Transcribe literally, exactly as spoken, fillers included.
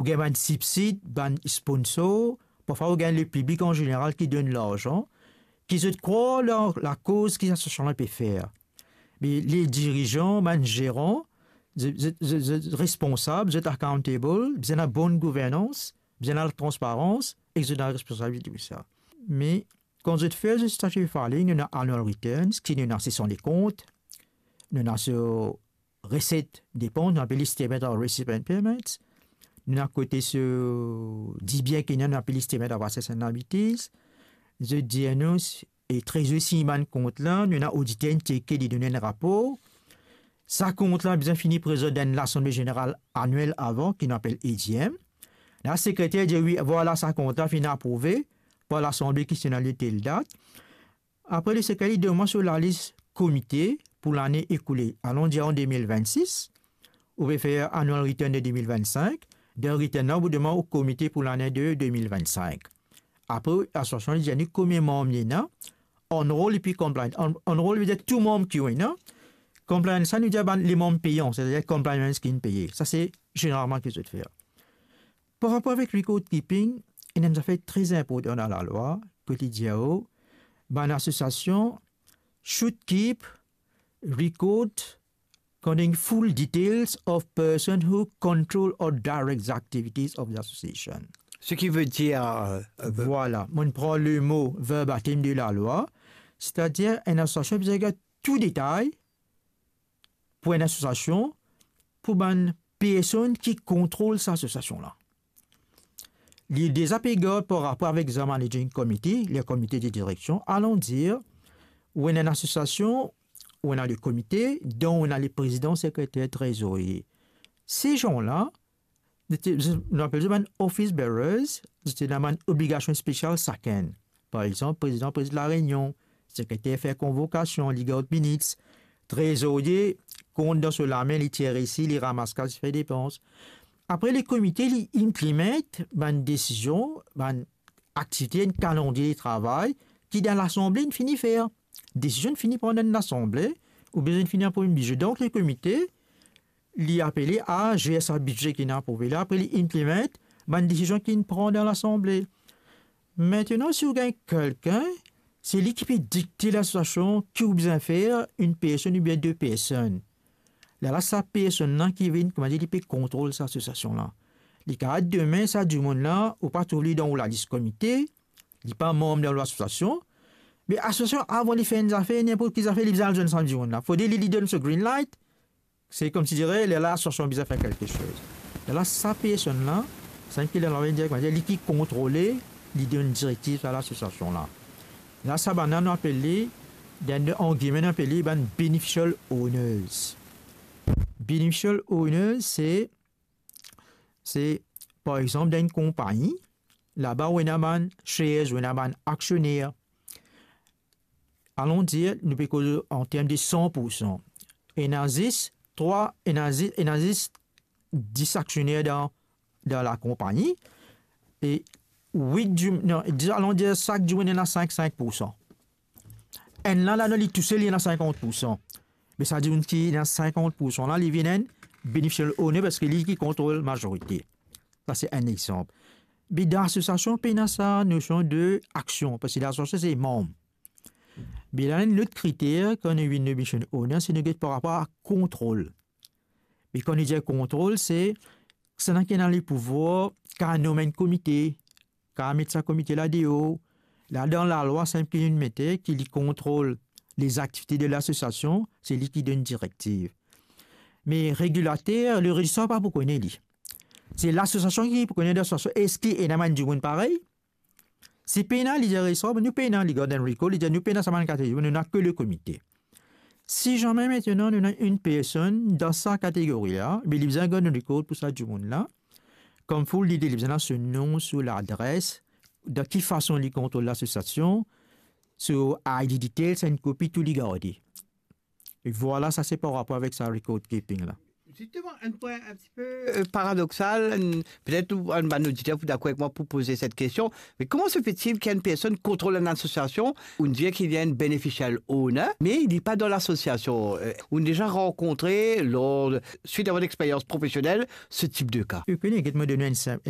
ou gagn bann sibsid, bann sponsor, parfwa ou gagn lepiblik an zeneral ki donn larzan, ki zot krwar dan lakoz ki lasosiasion la pe fer. Me le dirizan, bann zeran, zot, zot, zot, zot responsab, zot accountable, bizin ena bonn gouvernans, bizin ena latransparans, ek zot ena responsabilite pou sa. Me kan zot fer zot statutory filing, nou ena annual returns, ki nou ena session de kont, nou ena so reset, depans, nou apel li statement of receipt and payments. Nou ena kote so dibien ki ena, nou apel li statement of assets and liabilities. Zot dir nou, e trezor sign bann kont la, nou ena oditer inn tcheke, li donn enn rapor. Sa kont la bizin fini prezant dan Lasanble Zeneral Anyel avan, ki nou apel A G M. La sekreter dir, wi, vwala, sa kont la finn aprouve par Lasanble ki ti ena li tel dat. Apre, le sekreter li donn mwa so lalis komite pou lane ekoule. Alon dir an de mil vennsis, ou pe fer annual return de de mil vennsink, dan return la, ou donn mwa ou komite pou lane de de mil vennsink. Apre, lasosiasion li dir nou konbien manm li ena, enrolled epi compliant. En-, enrolled vedir tou manm ki ou ena, compliant sa nou dir bann lemanm peyan, setadir compliant ki inn peye. Sa se zeneralman ki zot fer. Par rapor avek record keeping, ena enn zafer tre inportan dan lalwa, kot li dir ou, bann asosiasion should keep record containing full details of person who control or direct the activities of the association. Seki vedir, euh, euh, Vwala, mo'nn pran lemo verbatim de lalwa, setadir enn asosiasion bizin gagn tou detay pou enn asosiasion, pou bann personn ki kontrol sa asosiasion la. Li deza pe gard par rapor avek sa managing committee, le komite de direksion, alon dir, ou ena enn asosiasion, ou ena le komite, donk ou ena le prezidan, sekreter, trezorie. Se zan la, zot ena, nou apel zot bann office bearers, zot ena bann obligasion spesial sakenn. Par exanp, prezidan prezid lareinion, sekreter fer konvokasion, li gard minutes, trezorie kont dan so lame, li tir resi, li ramas kas, li fer depans. Apre, le komite, li inplimant bann desizion, bann aktivite, enn kalandrie de travay ki dan Lasanble inn fini fer. Desizion inn fini pran dan Lasanble, oubien inn fini aprouv bizye. Donk, le komite, li apele a zer sa bizye ki inn aprouve la, apre li inplimant bann desizion ki inn pran dan Lasanble. Aster, si ou gagn kelkenn, se li ki pe dikte lasosiasion ki ou bizin fer, enn personn oubien de personn. Lerla sa personn la ki vinn, koumadir, li pe kontrol sa asosiasion la. Li kapav demin sa dimoun la, ou pa trouv li dan ou lalis komite, li pa manm dan ou lasosiasion, me asosiasion, avan li fer enn zafer, ninport ki zafer, li bizin al zwenn sa dimoun la. Fode li, li donn so green light, se koumsidire, lerla lasosiasion bizin fer kelke soz. Lerla sa personn la, sa enn ki lerla dir, koumadir, li ki kontrole, li donn direktiv a lasosiasion la. La, sa bann la, nou apel li, dan, an gime, nou apel li bann beneficial owners. Beneficial owners, se, se, par exanp, dan enn konpagni, laba ou ena bann shares, ou ena bann aksioner. Alon dir, nou pe koz an term de san pour san. Ena zis trwa, ena zi-, ena zis dis aksioner dan, dan lakonpagni. E wit di-, non, di-, alon dir sak dimoun ena sink, sink pour san. Enn la, la, non, li tousel, li ena sinkant pour san. Me sa dimoun ki ena sinkant pour san la, li vinn enn beneficial owner parski li ki kontrol mazorite. Sa se enn exanp. Me dan lasosiasion, pena sa nosion de aksion, parski lasosiasion se manm. Me la, enn lot kriter, kan nou vinn beneficial owner, se nou get par rapor a kontrol. Me kan nou dir kontrol, se, se la ki ena lepouvwar, kapav nom enn komite, kapav met sa komite la deor. La, dan lalwa, sa enn ki nou mete, ki li kontrol lezaktivite de lasosiasion, se li ki donn direktiv. Me regilater, le rezistrar pa pou kone li. Se lasosiasion ki pou kone lasosiasion, eski ena bann dimoun parey? Si pena, li dir rezistrar, nou pena, li gard enn record, li dir nou pena sa bann kategori, nou ena ke le komite. Si zame aster nou ena enn personn dan sa kategori la, be li bizin gard enn record pou sa dimoun la. Kouma fode li, li bizin ena so nom, so ladres, dan ki fason li kontrol lasosiasion, so I D details, enn kopi, tou li garde. E vwala, sa se par rapor avek sa record keeping la. Justement, un point un petit peu euh, paradoxal, un- peut-être un bann auditeur pour d'accord avec moi pour poser cette question, mais comment se fait-il qu'une personne contrôle une association, on dit qu'il y a une beneficial owner, mais il n'est pas dans l'association euh, On a déjà rencontré, lors, suite à votre expérience professionnelle, ce type de cas. Ou kone, get mo donn enn sa-